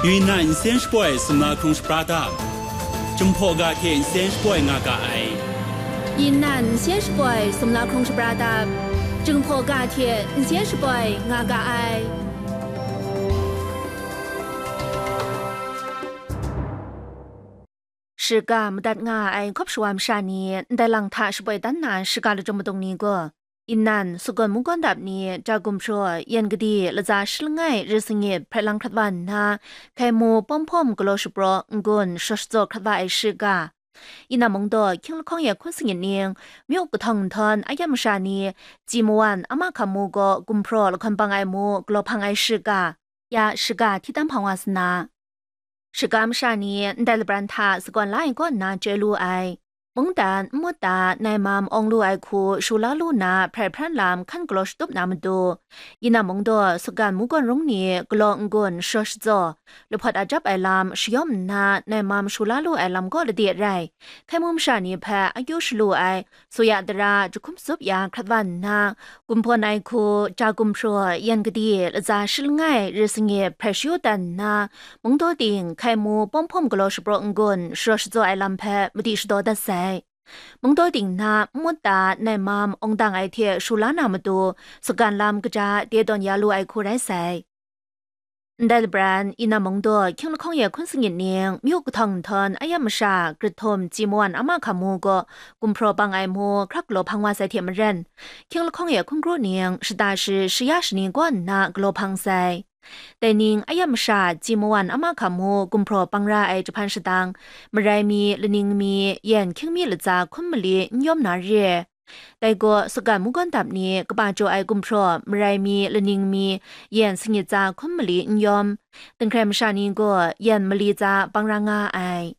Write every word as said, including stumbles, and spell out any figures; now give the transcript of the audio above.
Yunnan nsen shapoi sumla hkrung shapra dap, Jinghpaw ga hte nsen shapoi nga ga ai. Yunnan nsen shapoi sumla hkrung shapra dap, Jinghpaw ga hte nsen shapoi nga ga ai. Shiga madat nga ai hkawp shawa masha ni ndai lang hta shapoi dan na shiga lachyum madung ni gaw, Yunnan, Sagawn mungkawn dap ni, Ja gumhpraw, Yan Gadi, Latsa Shi Langai, Rit Sangit, hpret lang hkrat wa nna, hkai mu, pawm hpawm, galaw shapraw, n-gun, shaw shatsaw hkrat wa ai shiga, Yunnan mungdaw, hkying lahkawng ya hkun sangit ning, myu kahtawng nhtawm, a yam masha ni, Ji Mawan, Ama Hkamu gaw gumhpraw lahkawn pang ai mu galaw hpang ai shiga, ya shiga hti tam hpang wa sa na. Shiga masha ni ndai labran hta sagawn la ai kaw nna chyoi lu ai. Mungdan, nmut da, nai mam awng lu ai hku shu la lu na hprai hpran lam hkan galaw shatup na matu, Yunnan mungdaw, Sagawn mungkawn rung ni galaw n-gun shaw shatsaw, lahpawt ajap ai lam shayawm nna nai mam shu la lu ai lam kaw lade rai, hkai mu masha ni hpe akyu shalu ai, suya dara jahkum tsup ya hkrat wa nna, gumhpawn ai hku, Ja gumhpraw, Yan Gadi, Latsa Shi Langai, Rit Sangit, hprai shayu dan nna, mungdaw ting, hkai mu, pawm hpawm, galaw shapraw n-gun, sharaw shatsaw ai lam hpe madi shadaw dat sai. Mungdaw ting na nmut da nai mam awng dang ai hte shu la na matu, Sagawn lam kaja de tawn ya lu ai hku rai sai. Ndai labran, Yunnan mungdaw, hkying lahkawng ya hkun sangit ning, myu kahtawng nhtawm, a yam masha, Grit Htum, Ji Mawan, Ama Hkamu gaw gumhpraw pang ai mu hkrak galaw hpang wa sai hte maren, hkying lahkawng ya hkun kru ning, shata shi, shaya shani kaw nna galaw hpang sai. Dai ning, a yam masha, Ji Mawan, Ama Hkamu gumhpraw pang ra ai jahpan shadang, marai mi, laning mi, yan hkying mi latsa hkun mali n yawm na re. Dai gaw, Sagawn mungkawn dap ni kaba jaw ai gumhpraw, marai mi, laning mi, yan sangit tsa hkun mali n yawm, Dinghkrai masha ni gaw yan mali tsa pang ra nga ai.